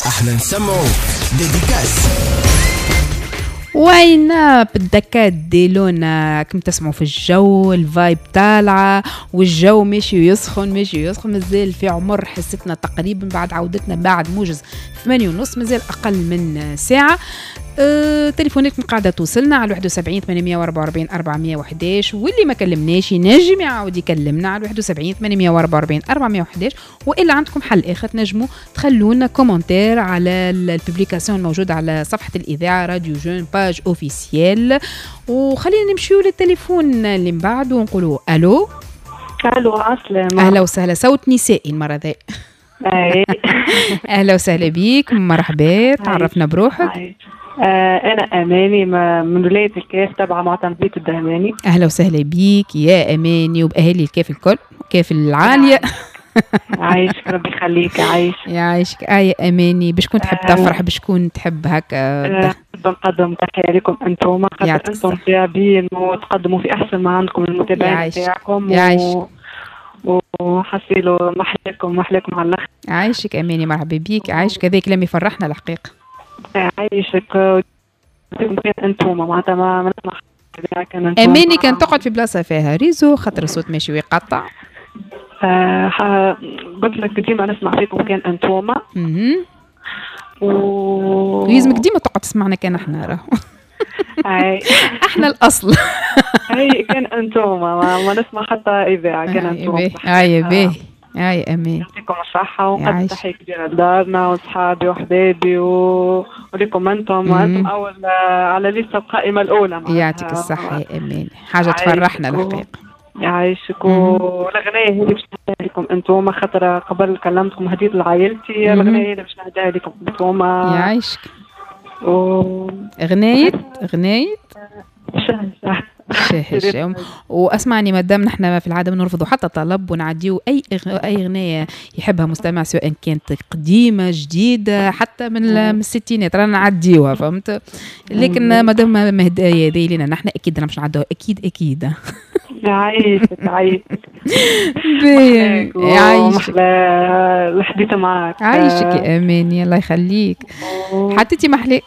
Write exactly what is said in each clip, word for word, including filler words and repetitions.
احنا نسمعوا dédicace. وين بالدكات ديلونا كم تسمعوا في الجو، ال vibe طالعة والجو ماشي يسخن ماشي يسخن. مازال في عمر حصتنا تقريبا بعد عودتنا بعد موجز ثمانية ونص، مازال أقل من ساعة. أه تليفوناتكم قاعدة توصلنا على واحد وسبعين ثمانمية وأربعة وأربعين أربعمية وحداش، واللي ما كلمناش ينجم يعاود يكلمنا على واحد وسبعين ثمانمية وأربعة وأربعين أربعمية وحداش. وإلا عندكم حل آخر تنجموا تخلونا commentaire على ال publication الموجودة على صفحة الإذاعة راديو Jeunes page officielle. وخلينا نمشيو للتليفون اللي من بعد ونقولوا الو. الو، عسلامة. اهلا وسهلا، صوت نسائي المرة ذي. اهلا وسهلا بيك، مرحبا، تعرفنا بروحك. آه أنا أماني من ولاية الكاف تبع معتمدية الدهماني. أهلا وسهلا بيك يا أماني وبأهالي الكاف الكل، كاف العالية. عايشك، ربي يخليك، عايش. يعيشك. آه يا أماني، بشكون تحب تفرح، بشكون تحب هكا؟ آه نقدم تحية لكم أنتم، خاطر أنتم تعبين وتقدموا في أحسن ما عندكم للمتابعين تاعكم. يعيشك. وحسيلو محلاكم محلاكم على الآخر. عايشك أماني، مرحبا بيك. عايشك، هذا كلام يفرحنا الحقيقة. عايشك انتم معناتها ما نسمع. اماني كان تقعد في بلاصة فيها réseau خاطر الصوت ماشي ويقطع. آه قلت لك ديما نسمع فيكم كان انتوما. اها و لازمك ديما تقعد تسمعنا كان احنا راهو. احنا الاصل. اي كان انتوما ما نسمع حتى اذاعة كان انتوما. اي باهي. اي امين، يعطيكم الصحة وقد تحية كبيرة لدارنا وصحابي وحبايبي و... ولكم انتم، وانتم اول على لسه القائمة الأولى. يعطيك الصحة يا امين، حاجة تفرحنا الحقيقة. يعيشك. والأغنية هذه باش نهديها لكم انتم، خاطر قبل كلمتكم هديت لعائلتي، الأغنية هذه باش نهديها لكم انتم. يعيشك. و... أغنية أغنية شه شه. واسمعني، مادام نحن في العادة نرفضوا حتى طلب ونعديو اي اي اغنية يحبها مستمع، سواء كانت قديمة جديدة حتى من الستينات رانا نعديوها، فهمت؟ لكن مادام هدايا هذه لنا نحن اكيد رانا باش نعدوها، اكيد اكيد. يعيشك يعيشك. يعيشك، الحديث معاك. عايشك يا اماني، الله يخليك، حتى محليك.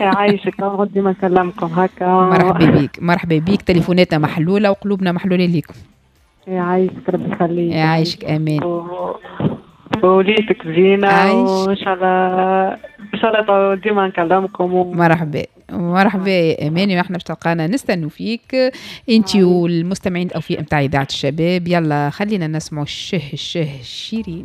يعيشك، نقعد ديما نكلمكم هكا. مرحبا بيك، مرحبا بيك، تليفوناتنا محلولة وقلوبنا محلولة ليكم. يعيشك، ربي يخليك. يعيشك امين. وليتك زينة، وان شاء الله ان شاء الله ديما نكلمكم و... مرحبا مرحبا يا اماني، واحنا باش تلقانا نستنوا فيك انت والمستمعين الاوفياء نتاع اذاعة الشباب. يلا خلينا نسمعوا الشه الشه شيرين.